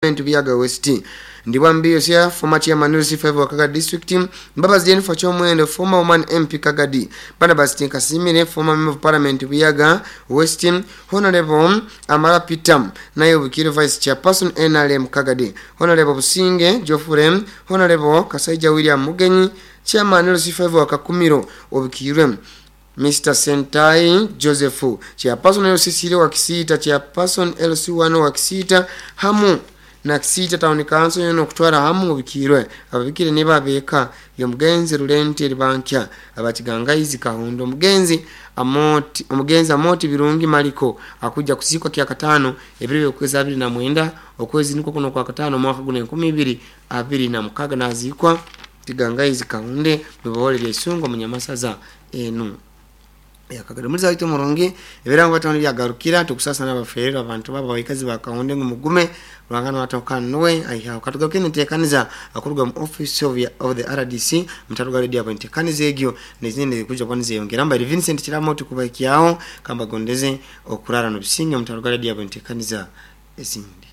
Parliament Buyaga West, Ndibwambi Yosia, former chairman LC5 wa Kagadi District, Mbabazi Jennifer Chomwendo, former woman MP Kagadi, Barnabas Tinkasimire, former member of Parliament Buyaga West, Honorable Amara Peter, naye Bukiro Vice Chairperson NRM Kagadi, Honorable Businge Geoffrey, Honorable Kasaija William Mugenyi, Chairman LC5 wa Kakumiro Obukirwe, Mr. Sentai Joseph, Chairperson LC3 wa Kisita, Chairperson LC1 wa Kisita, hamu na Kisita Town Council yono okutwara hamu obikirwe ababikire niba abeka yomugenzi Rulenti Eribankya abakigangaizi Kahundo omugenzi Amoti omugenzi Amoti Birungi Maliko akuja kusikwa kya katano ebiro byokwezi 29 okwezi niko kuno kwa katano mwaka guno 2026 nazikwa Kigangaizi Kahunde mubahole lya Isungo munyamasaza enu yakagada muri zaito murungi ebirango batano byagarukira tukusasa n'abaferera abantu baba baikazi bakahunde ngo mugume rwangana watokanwe aiha katugaruke ntekaniza akuruga mu office of the RDC mutaruga radio abo ntekaniza egyo nezindi kuja kwanize yongera mba Vincent Kiramo tukubakiyaho kamba gondeze okurara no bisinge mutaruga radio abo ntekaniza ezindi.